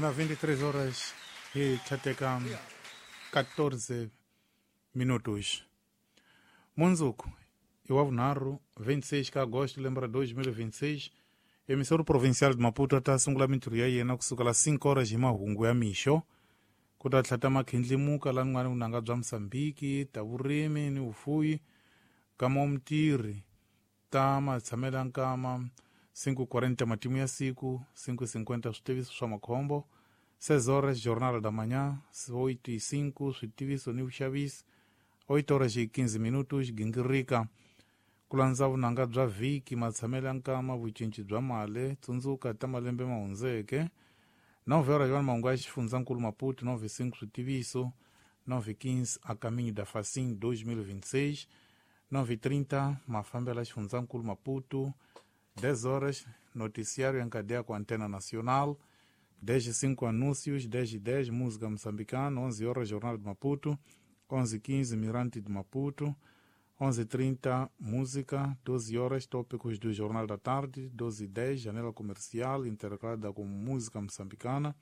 Na 23 horas hi tlhateka 14 minutos. Mundzuku i wa vunharhu 26 ka agosto lembe ra 2026, emissoro provincial de Maputo ta sungula mintirho ya yena kusukela 5 horas hi mahungu ya mixo. Ku ta tlhata makhindlimuka la nwana vunanga bya Mosambiki, ta vurimi ni vufuyi, kama wa mutirhi ta matshamela nkama 5:40 matimu ya siku, 5:50 switiviso swa makhombo, 6 horas jornal da manhã, 8:05 switiviso ni vuxavisi, 8 horas e 15 minutos gingirika ku landza vunanga bya vhiki, matshamelo ya nkama, vucinci bya mali, tsundzuka ta malembe ma hundzeke. 9 horas vana mahungu ya xifundzankulu Maputo, 9:05 switiviso, 9:15 a caminho da Facim 2026, 9:30 mafambelo ya xifundzankulu Maputo, 10 horas noticiário em cadeia com Antena Nacional, 10:05 anúncios, 10:10 música moçambicana, 11 horas Jornal de Maputo, 11:15 Mirante de Maputo, 11:30 música, 12 horas tópicos do Jornal da Tarde, 12:10 janela comercial intercalada com música moçambicana,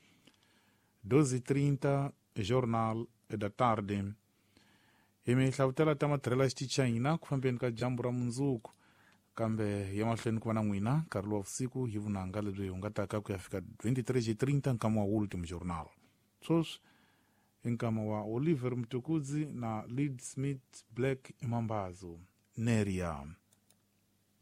12:30 Jornal da Tarde. Hi mihlavutela ta matirhelo ya xichayina ku fambeni ka dyambu ra mundzuku, kambe ya mahlweni ku va na n'wina nkarhi lowa vusiku hi vunanga lebyi hungataka ku ya fika 23:30 nkama wa Ultimo Journal. Sweswi i nkama wa Oliver Mtukudzi na Lead Smith Black Imambazo Neria.